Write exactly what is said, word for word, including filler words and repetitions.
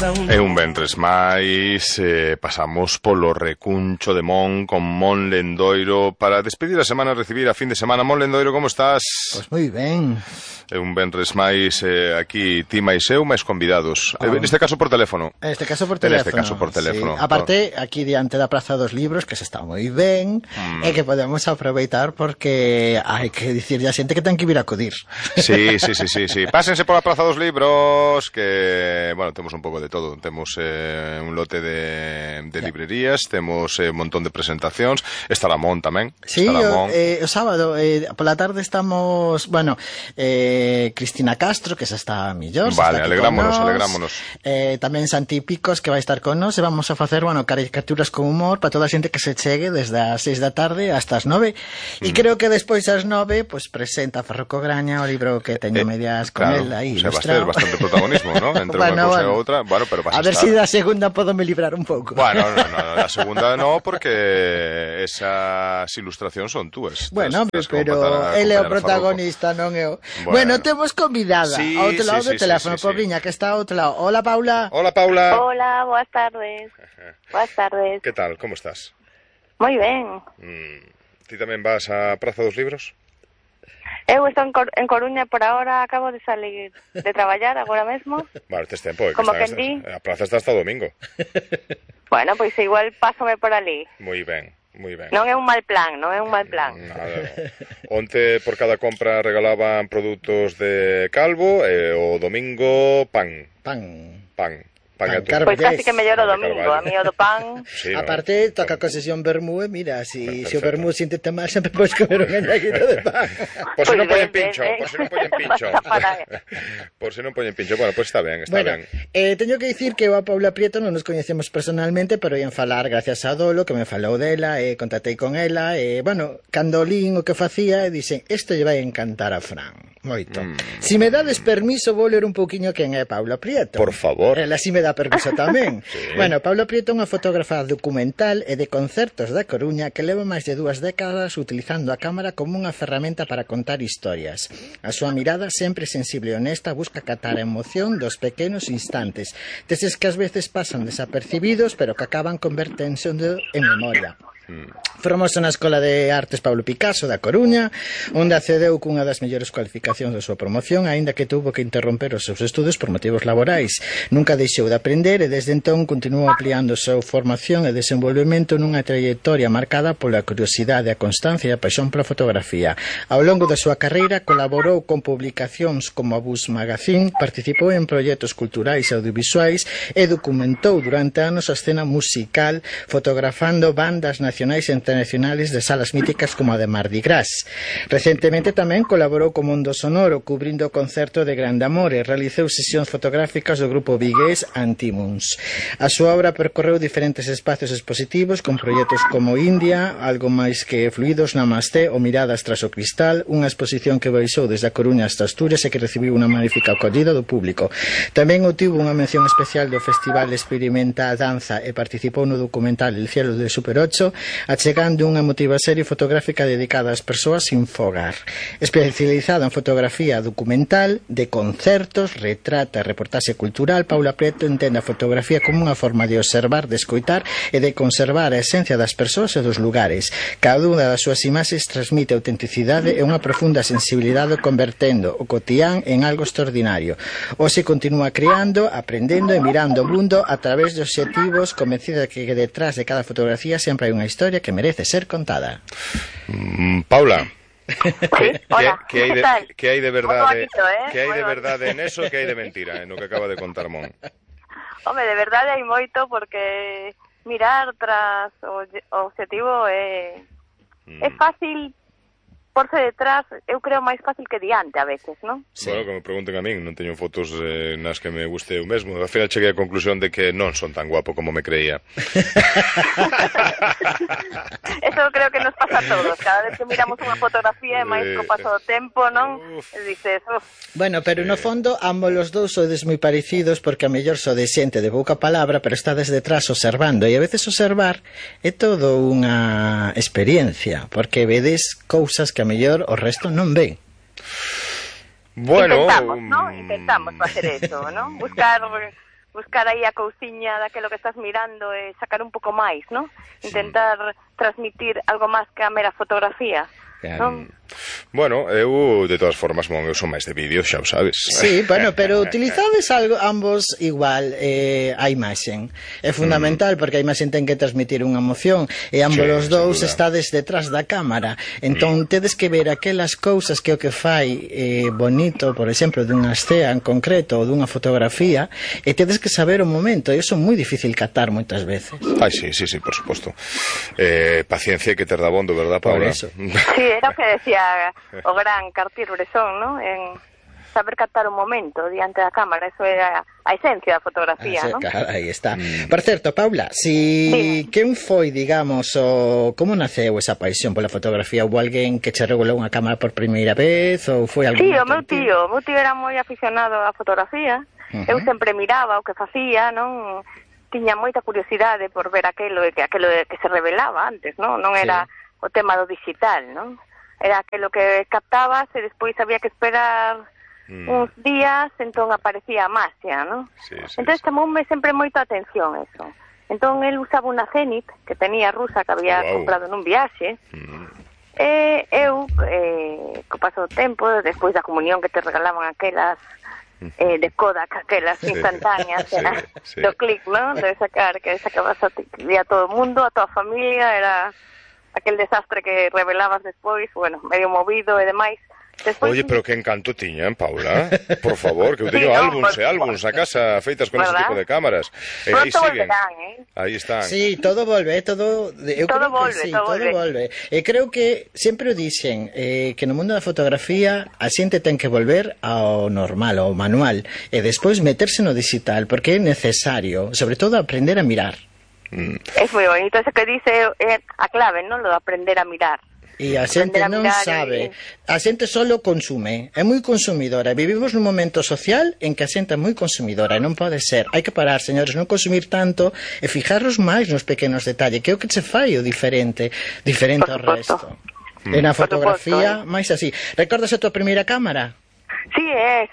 E un ventres máis eh, pasamos polo recuncho de Mon con Mon Lendoiro para despedir a semana e recibir a fin de semana. Mon Lendoiro, como estás? Pois moi ben. É un ventres máis eh, aquí ti máis eu, máis convidados. Oh. Neste caso por teléfono. Neste caso por teléfono. Neste caso por teléfono. Sí. Aparte, aquí diante da Praza dos Libros, que se está moi ben, mm. e que podemos aproveitar porque hai que dicirlle a xente que ten que vir a acudir. Sí, sí, sí, sí, sí. Pásense pola Praza dos Libros, que, bueno, temos un pouco de todo. Temos eh, un lote de, de librerías, temos eh, un montón de presentacións. Está Mon tamén. Sí, o, eh, o sábado, eh, pola tarde estamos, bueno, eh, Cristina Castro, que xa está millor. Vale, alegrámonos, alegrámonos. Eh, tamén Santi Picos, que vai estar con nos, e vamos a facer, bueno, caricaturas con humor para toda a xente que se chegue desde as seis da tarde hasta as nove. E mm. creo que despois ás nove, pues presenta Farroco Graña o libro que teño eh, medias con claro, él aí. O sea, va a ter bastante protagonismo, ¿no? Entre bueno, unha cousa bueno. e outra. Bueno, pero vas a, a ver se si da segunda podo me librar un pouco. Bueno, no, no, no, a segunda no, porque esas ilustracións son túas. Bueno, tás, tás pero ele é o protagonista, non eu. Bueno, Bueno, temos convidada sí, ao outro lado sí, do sí, teléfono, sí, sí, pobriña, sí. que está ao outro lado. Hola, Paula. Hola, Paula. Hola, boas tardes. Boas tardes. Que tal, como estás? Moi ben. Mm, ti tamén vas á Praza dos Libros? Eu estou en, Cor en Coruña por ahora, acabo de salir de traballar agora mesmo. Vale, tes tempo. Que como que que di. A praza está hasta o domingo. Bueno, pois pues igual pásome por ali. Moi ben. Moi ben. Non é un mal plan, non é un mal plan. Nada, no. Onte por cada compra regalaban produtos de Calvo e o domingo pan. Pan. Pan. Pan pois pues casi que mellor o domingo, a mí o do pan. Sí, no. Aparte, toca a concesión vermú e mira, si, si o vermú siéntete mal, sempre podes comer un enllaguito de pan. Por si non poñen pincho, por si non poñen pincho. Por si non poñen pincho. Bueno, pois pues está ben, está bueno, ben. Eh, teño que dicir que eu a Paula Prieto non nos coñecemos personalmente, pero ían falar gracias a Dolo, que me falou dela, e eh, contactei con ela, e, eh, bueno, cando lín o que facía, e dixen, isto lle vai encantar a Fran. Moito. Mm. Si me dades permiso, vou ler un pouquiño quen é Paula Prieto. Por favor. Ela si me dá permiso tamén. Sí. Bueno, Paula Prieto é unha fotógrafa documental e de concertos da Coruña que leva máis de dúas décadas utilizando a cámara como unha ferramenta para contar historias. A súa mirada, sempre sensible e honesta, busca catar a emoción dos pequenos instantes, deses que ás veces pasan desapercibidos, pero que acaban converténdose en memoria. Formouse na Escola de Artes Pablo Picasso da Coruña, onde accedeu cunha das mellores cualificacións da súa promoción, aínda que tuvo que interromper os seus estudos por motivos laborais. Nunca deixou de aprender e desde entón continuou ampliando a súa formación e desenvolvemento nunha trayectoria marcada pola curiosidade, a constancia e a paixón pola fotografía. Ao longo da súa carreira colaborou con publicacións como a Bus Magazine, participou en proxectos culturais e audiovisuais e documentou durante anos a escena musical, fotografando bandas nacionais e internacionales de salas míticas como a de Mardi Gras. Recentemente tamén colaborou co mundo sonoro, cubrindo o concerto de Grande Amor e realizou sesións fotográficas do grupo vigués Antimuns. A súa obra percorreu diferentes espacios expositivos con proxectos como India, Algo máis que fluidos, Namasté ou Miradas tras o cristal, unha exposición que baixou desde a Coruña hasta Asturias e que recibiu unha magnífica acollida do público. Tamén obtivo unha mención especial do Festival Experimenta Danza e participou no documental El cielo de Super ocho, achegando unha emotiva serie fotográfica dedicada ás persoas sin fogar. Especializada en fotografía documental, de concertos, retrata e reportaxe cultural, Paula Prieto entende a fotografía como unha forma de observar, de escoitar e de conservar a esencia das persoas e dos lugares. Cada unha das súas imaxes transmite autenticidade e unha profunda sensibilidade, convertendo o cotián en algo extraordinario. Hoxe continúa creando, aprendendo e mirando o mundo a través de obxectivos, convencida de que detrás de cada fotografía sempre hai unha historia que merece ser contada. Mm, Paula, sí, hola, que, que, hai de, que hai de verdade, bonito, eh? que hai de verdade en eso, que hai de mentira en o que acaba de contar Mon? Home, de verdade hai moito, porque mirar tras o, o objetivo é mm. é fácil porse detrás, eu creo máis fácil que diante a veces, non? Sí. Bueno, que me pregunten a min, non teño fotos eh, nas que me guste eu mesmo. Al final cheguei á conclusión de que non son tan guapo como me creía. Eso creo que nos pasa a todos. Cada vez que miramos unha fotografía e máis co paso do tempo, non? Uf. E dices, uf. Bueno, pero no fondo ambos os dous sodes moi parecidos, porque a mellor sodes xente de pouca palabra, pero estades detrás observando, e a veces observar é todo unha experiencia, porque vedes cousas que a mellor o resto non ven. Bueno, intentamos, ¿no? Intentamos facer eso, ¿no? Buscar buscar aí a cousiña daquelo que estás mirando e sacar un pouco máis, non? Intentar transmitir algo máis que a mera fotografía. Um, bueno, eu de todas formas, mon, eu son máis de vídeo, xa o sabes. Sí, bueno, pero utilizades algo ambos igual eh, a imaxen. É fundamental mm. porque a imaxen ten que transmitir unha emoción e ambos sí, os dous estades detrás da cámara. Entón mm. tedes que ver aquelas cousas que o que fai eh, bonito, por exemplo, dunha escena en concreto ou dunha fotografía, e tedes que saber o momento, e iso é moi difícil catar moitas veces. Ai, sí, sí, sí, por suposto. Eh, paciencia que ter da bondo, verdad, Paula? Por eso. Sí, era o que decía o gran Cartier-Bresson, ¿no? En saber captar un momento diante da cámara, eso é a, a esencia da fotografía, ah, ¿no? Claro, aí está. Mm. Por certo, Paula, si sí. quen foi, digamos, o como naceu esa paixón pola fotografía? Houve alguén que che regulou unha cámara por primeira vez ou foi algún? Sí, o meu tío, o meu tío era moi aficionado á fotografía. Uh-huh. Eu sempre miraba o que facía, non? Tiña moita curiosidade por ver aquelo que aquelo que se revelaba antes, non? Non era sí. o tema do digital, non? Era aquilo que captabas e despois había que esperar mm. uns días, entón aparecía a magia, non? Sí, sí, entón sí. chamoume sempre moita atención eso. Entón el usaba unha Zenit que tenía rusa que había wow. comprado nun viaxe. Mm. E eu, eh, co paso do tempo, despois da comunión que te regalaban aquelas eh, de Kodak, aquelas instantáneas, sí, era sí. do clic, non? De sacar, que sacabas a, a todo o mundo, a toda a familia, era aquel desastre que revelabas despois, bueno, medio movido e demais. Despois... Oye, pero que encanto tiñan, Paula, por favor, que eu teño sí, no, álbums e álbums a casa feitas con ¿verdad? Ese tipo de cámaras. E aí siguen. Volverán, eh? Aí están. Sí, todo volve, todo... Eu todo creo volve, que sí, todo, todo volve. volve. E creo que sempre o dixen eh, que no mundo da fotografía a xente ten que volver ao normal, ao manual, e despois meterse no digital, porque é necesario, sobre todo, aprender a mirar. Mm. É moi bonito, eso que dice é a clave, non? Lo de aprender a mirar. E a xente non sabe, a xente solo consume, é moi consumidora. Vivimos nun momento social en que a xente é moi consumidora e non pode ser. Hai que parar, señores, non consumir tanto e fijarnos máis nos pequenos detalles, que é o que se fai o diferente, diferente ao resto. Mm. E na fotografía, máis así. Recordas a tua primeira cámara? Sí, é